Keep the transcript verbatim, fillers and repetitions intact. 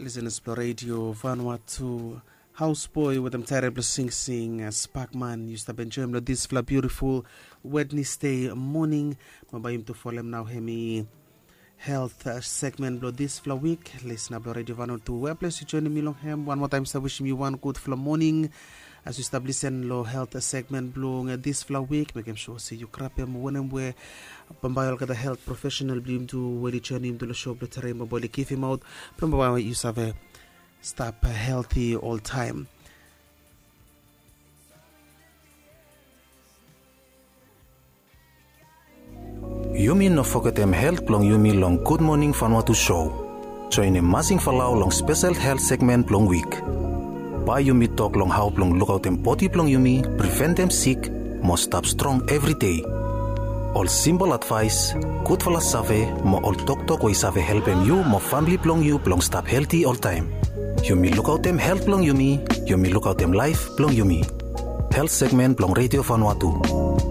Lisenas blong redio Vanuatu, Hausboi wetem taerel blong singsing, Spakman, yu stap enjoim long disfala biutiful Wednesday moning. Mo bae yumi tu folem nao hemi helt segmen blong disfala wik. Lisena blong redio Vanuatu, weples yu joinim mi long hem, wan moa taem stap wisim yu wan gudfala moning. As yu stap lisen long helt segmen blong disfala wik, mekem sua se yu grabem wanem we bambae olgeta helt profesenal blong yumi tu we oli joinim tu long sho blong terem bambae oli givimaot blong bambae yu save stap helti oltaem. Yumi no fogetem helt blong yumi long Gud Moning Vanuatu sho. Joinim Masing Falau long spesel helt segmen blong wik. Bae yumi tok long hao blong lukaotem bodi blong yumi, priventem sik, mo stap strong evri dei. Ol simpol advaes, gudfala save, mo ol toktok we i save helpem yu mo famle blong yu blong stap helti oltaem. Yumi lukaotem helt blong yumi, yumi lukaotem laef blong yumi. Helt segmen blong redio Vanuatu.